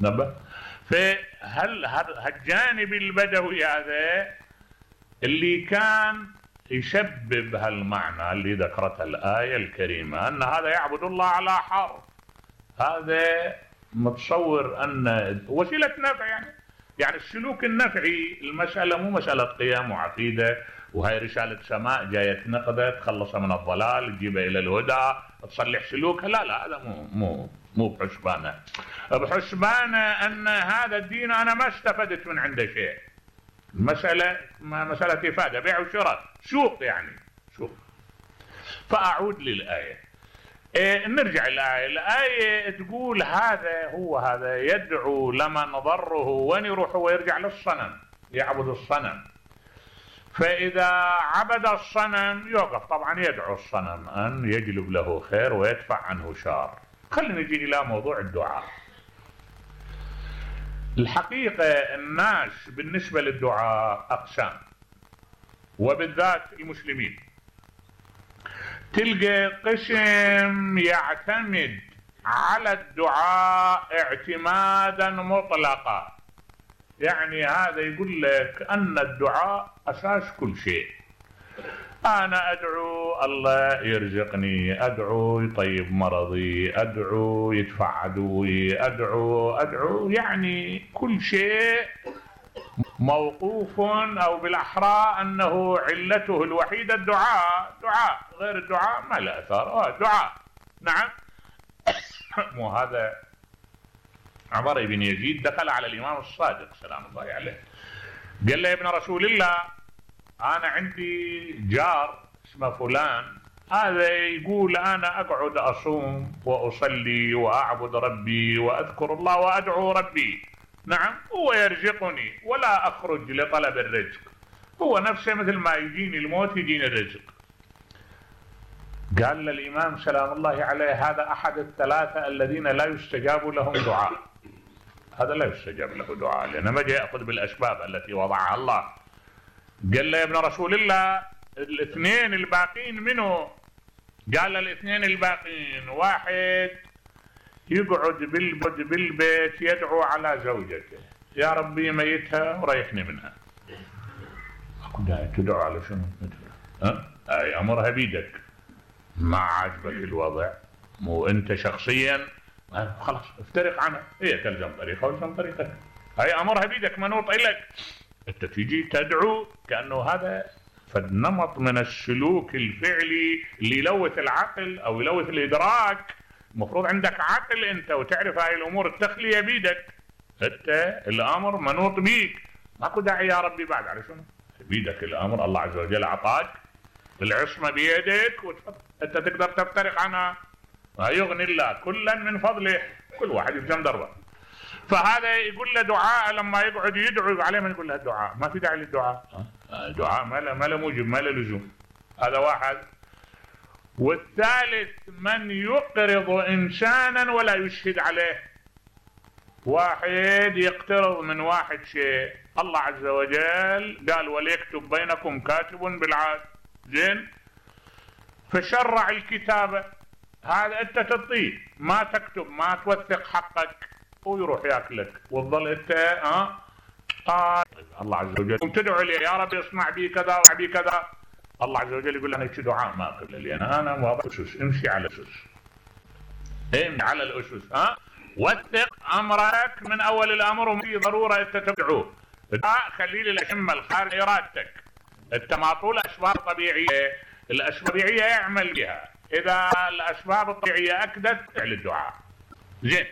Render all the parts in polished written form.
نبه. فهل هالجانب البدوي هذا اللي كان يسبب هالمعنى اللي ذكرتها الآية الكريمة أن هذا يعبد الله على حرف، هذا متصور أن وسيلة نفع، يعني السلوك النفعي. المسألة مو مسألة قيم وعقيدة وهي رسالة سماء جاية تنقذه تخلص من الضلال تجيبه إلى الهدى تصلح سلوكه، لا هذا مو بحسبانه. بحسبانه أن هذا الدين أنا ما استفدت من عنده شيء، المسألة مسألة إفادة، بيع وشراء، سوق سوق. فأعود للآية. نرجع الآية تقول هذا يدعو لمن ضره، وين يروح هو؟ يرجع للصنم، يعبد الصنم. فإذا عبد الصنم يوقف طبعا يدعو الصنم أن يجلب له خير ويدفع عنه شر. خلينا نجي إلى موضوع الدعاء. الحقيقة الناس بالنسبة للدعاء أقسام، وبالذات المسلمين. تلقى قسم يعتمد على الدعاء اعتمادا مطلقا، يعني هذا يقول لك أن الدعاء أساس كل شيء. أنا أدعو الله يرزقني، أدعو يطيب مرضي، أدعو يدفع عدوي، أدعو يعني كل شيء موقوف، أو بالأحرى أنه علته الوحيدة الدعاء. دعاء غير الدعاء ما له أثر. دعاء نعم. مو هذا عمر بن يزيد دخل على الإمام الصادق سلام الله عليه، قال له يا ابن رسول الله أنا عندي جار اسمه فلان، هذا يقول أنا أقعد أصوم وأصلي وأعبد ربي وأذكر الله وأدعو ربي، نعم، هو يرزقني ولا أخرج لطلب الرزق، هو نفسه مثل ما يجيني الموت يجيني الرزق. قال للإمام سلام الله عليه هذا أحد الثلاثة الذين لا يستجاب لهم دعاء، هذا لا يستجاب له دعاء لأنه ما جاء يأخذ بالأسباب التي وضعها الله. قال له يا ابن رسول الله الاثنين الباقين منه؟ قال الاثنين الباقين واحد يقعد بالبيت يدعو على زوجته يا ربي ميتها وريحني منها. تدعو على شنو؟ أمرها بيدك، ما عجبك الوضع مو أنت شخصيا خلاص افترق عنها، هي تلزم طريقة والزم طريقتك، هي أمرها بيدك منوط إليك. أنت تيجي تدعو كأنه هذا فالنمط من السلوك الفعلي اللي يلوث العقل أو يلوث الإدراك. المفروض عندك عقل أنت وتعرف هاي الأمور التخلية بيدك، أنت الأمر منوط بيك، ماكو داعي يا ربي بعد على شنو؟ بيدك الأمر، الله عز وجل أعطاك العصمة بيدك أنت تقدر تفترق عنها، يغني الله كلا من فضله، كل واحد يفهم دربه. فهذا يقول له دعاء لما يقعد يدعو عليه من يقول له الدعاء ما في داعي للدعاء، دعاء ما له موجب ما له لزوم. هذا واحد. والثالث من يقرض إنسانا ولا يشهد عليه، واحد يقترض من واحد شيء، الله عز وجل قال وليكتب بينكم كاتب بالعدل، زين، فشرع الكتابة، هذا أنت تعطيه ما تكتب ما توثق حقك ويروح ياكلك وتظل أنت الله عز وجل تدعو لي يا رب اصنع بي كذا وصنع بي كذا، الله عز وجل يقول أنا دعاء ما أقبل لي أنا واضح أسس، امشي على الأسس، امشي على الأسس، وثق أمرك من أول الأمر وفي ضرورة أنت تدعوه. خلي لي الأشمة الخارج إرادتك، أنت معطول أسباب طبيعية، الأسباب الطبيعية يعمل بها، إذا الأسباب الطبيعية أكدت فعل الدعاء. زين،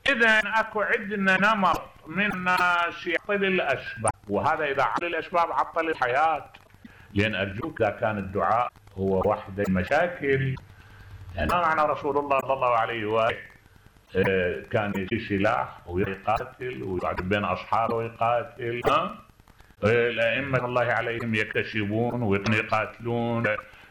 إذا أكو عندنا نمط من الناس يعطل الأسباب، وهذا إذا عطل الأسباب عطل الحياة. لأن أرجوك إذا كان الدعاء هو وحده المشاكل، يعني ما معنى رسول الله صلى الله عليه وآله كان يشيل سلاح ويقاتل ويقعد بين أصحابه ويقاتل، الأئمة الله عليهم يكتسبون ويقاتلون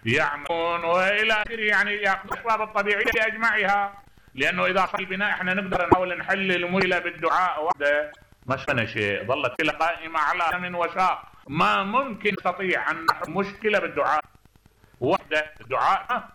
يعملون وإلى آخره، يعني يأخذ الأسباب الطبيعية أجمعها. لأنه إذا صار البناء إحنا نقدر نحاول نحل المشكلة بالدعاء وحده ما سمعنا شيء، ظلت كلها قائمة على دم وساق، ما ممكن نستطيع أن نحل مشكلة بالدعاء وحده. الدعاء